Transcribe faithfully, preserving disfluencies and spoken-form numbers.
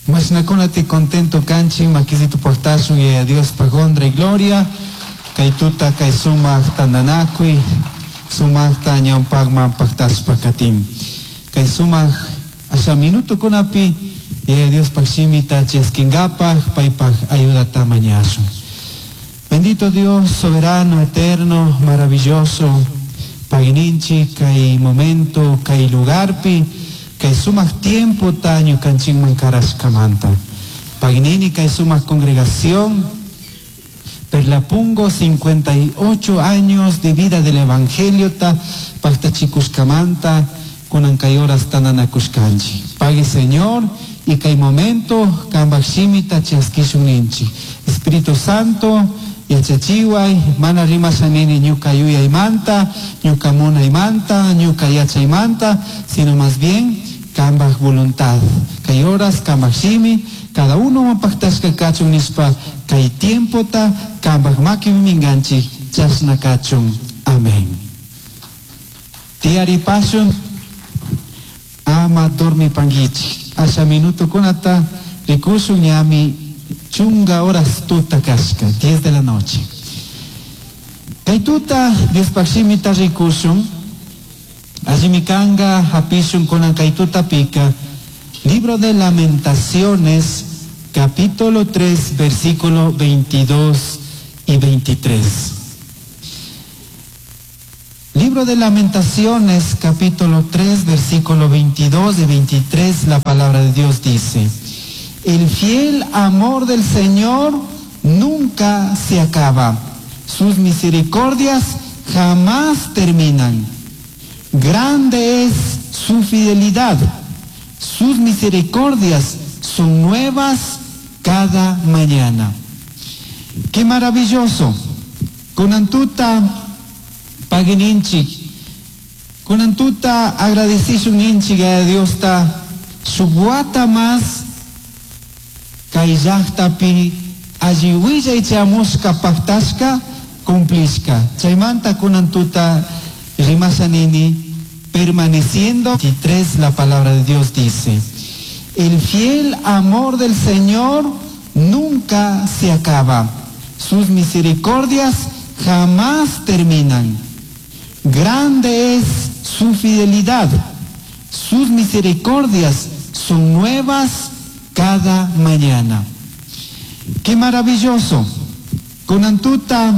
Mashnakunati contento kanchik makisito paqtashun Yaya Diospaq honra y gloria. Kay tuta kay sumaq tantanakuy sumaqta ñawpaqman paqtashpa katin. Kay sumaq asha minutokunapi Yaya Diospaq shimita chaskinqapaq paypaq ayudata mañashun. Bendito Dios, soberano, eterno, maravilloso, pagui ninchik kay momento, kay lugarpi, kay sumaq tiempo ta ñukanchikman karashkamanta. Pagui nini kay sumaq congregación, Perlapungo, cincuenta y ocho años de vida del Evangelio ta paqtachikushkamanta, kunan kay horas tandanakushkanchik. Pagui, Señor, y kay momento kambak shimita chaskishun ninchik. Espíritu Santo, yachachiway, mana rimasha nini ñuka yuyaymanta, ñuka munaymanta, ñuka yachaymanta, sino más bien kambak voluntad. Kay horas kambak shimi, cada uno paktashka kachun nishpa, kay tiempota kambak makipi minganchik, chashna kachun. Amén. Tiyaripashun, ama dormipanguichik. Asha minuto kunata rikushun ñami chunga horas tuta kashka, diez de la noche. Kay tuta Diospaq shimita rikushun, allimi kanga hapishun kunan kay tutapika, Libro de Lamentaciones, capítulo tres, versículo veintidós y veintitrés. Libro de Lamentaciones, capítulo tres, versículo veintidós y veintitrés, la palabra de Dios dice: "El fiel amor del Señor nunca se acaba, sus misericordias jamás terminan. Grande es su fidelidad, sus misericordias son nuevas cada mañana". Qué maravilloso. Kunan tuta pagui ninchik. Kunan tuta agradecishun ninchik a Dios ta shuk wata mas kay llaqtapi alli willay chayamushka paktashka cumplishka. Chaymanta kunan tuta rimasha nini permaneciendo. veintitrés, la palabra de Dios dice: "El fiel amor del Señor nunca se acaba, sus misericordias jamás terminan. Grande es su fidelidad, sus misericordias son nuevas cada mañana". Qué maravilloso. Kunan tuta